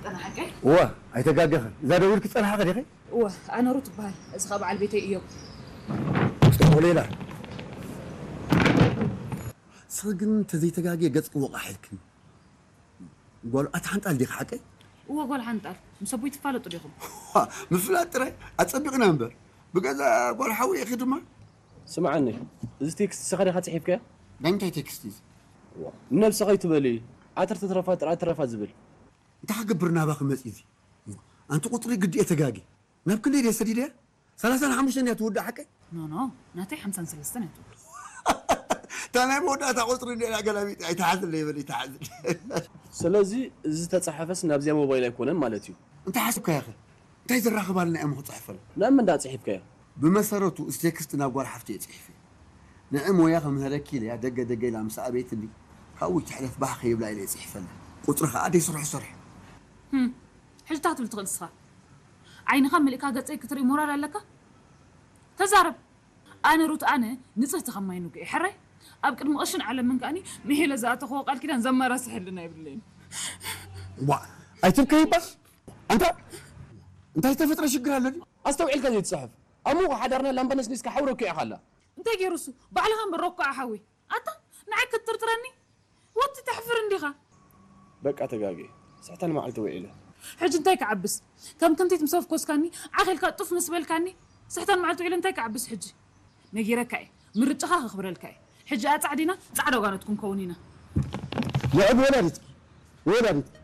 ጸናሓቀ? እዋ፣ ኣይተጋገኽን። እዛ ደዊልኪ ጸናሓ ኸዲኺ? እወ፣ ኣነ ሩት እበሃል። እዚ ኸኣ በዓል ቤተይ እዮብ። ጽቡቕ ሌላ። ስኺ ግን ተዘይተጋግየ ገጽኪ ወቓሕ ኢልክኒ። ጓል ኣቲ ሓንጣል ዲኺ ሓቀይ? እወ፣ ጓል ሓንጣል። ምስ ኣቦይ ትፋለጡ ዲኹም? ምፍላጥ ጥራይ ኣጸቢቕና እምበር። ብገዛ ጓል ሓዊ ኢኺ ድማ። ስምዓኒ፣ እዚ ቴክስት ንስኻ ዲኻ ጽሒፍካዮ? ናይ ምንታይ ቴክስት እዩ እዚ? ንነብስኻ ኣይትበሊ፣ ዓተር ተትረፋ ጥራይ ትረፋ ዝብል። እንታይ ክገብር ናባኺ መጺእ እዚ? ኣንቲ ቁጽሪ ግዲ እየ ተጋጊ። ናብ ክንደይ ድየ ሰዲደያ? ሰላሳን ሓሙሽተን እያ ትውዳእ ሓቀይ? ኖ፣ ኖ፣ ናተይ ሓምሳን ሰለስተን እያ ትውዳእ። እታ ናይ መወዳእታ ቁጽሪ እንድያ ገላቢጥ ኣይትሓዝለይ በል፣ ኣይትሓዝለይ። ስለዚ እዚ ተጻሓፈስ ናብዚኣ ሞባይል ኣይኮነን ማለት እዩ። እንታይ ሓስብካዮ ኸ? እንታይ ዘራኽባልና እዮም ክጽሕፈሉ? ናብ መን ደኣ ጽሒፍካዮ? ብመሰረቱ እዚ ቴክስት ናብ ጓል ሓፍቲ እየ ጽሒፈ። ንዒ ሞያ ክምህረኪ ኢለያ ደገ ደገ ኢላ ምስ ኣበየትኒ፣ ካብኡ ትሕለፍ ባህ ከይብላ ኢለ እየ ጽሒፈላ። ቁጽሪ ኸኣ ደይስርሑ ስርሑ። ህም፣ ሕጂ እንታይ ክትብል ትኽእል ንስኻ? ዓይንኻ መሊእካ ገጸይ ክትርኢ ሞራል ኣለካ? ተዛረብ። ኣነ ሩት፣ ኣነ ንጽህቲ ከም ማይ ንጉ እየ። ሕራይ ኣብ ቅድሚ ቅሽን ዓለምን ከኣኒ ምሒለ ዝኣተኽዎ ቃል ኪዳን ዘመራስሐልና የብለይን። ዋ፣ ኣይትብከይ እባ። ኣንታ እንታይ ዝተፈጥረ ሽግር ኣሎ ድዩ? ኣስተውዒልካ ዘይትጽሕፍ። ኣብ መንጎ ሓዳርና ላምባ ነስኒስካ ሓዊ ረኪዑ ኢኻ ኣላ። እንታይ ገይሩ እሱ? ባዕልኻ እምበር ረኳዓ ሓዊ። ኣታ ንዓይ ክትጥርጥረኒ? ወዲ ተሕፍር እንዲኻ። በቃ ተጋግየ። ስሕተን መዓልቲ ውዒለ። ሕጂ እንታይ ክዓብስ? ከም ክንቲት ምስ ኣፍኮስካኒ፣ ዓኽ ኢልካ ጡፍ ምስ በልካኒ፣ ስሕተን መዓልቲ ውዒለ እንታይ ክዓብስ ሕጂ? ነጊረካ እየ። ምርጫኻ ከኽብረልካ እየ። ሕጂ ኣጻዕዲና ጻዕዳ ጓኖት ክንከውን ኢና። ልዕሊ ወላዲትኪ፣ ወላዲትኪ፣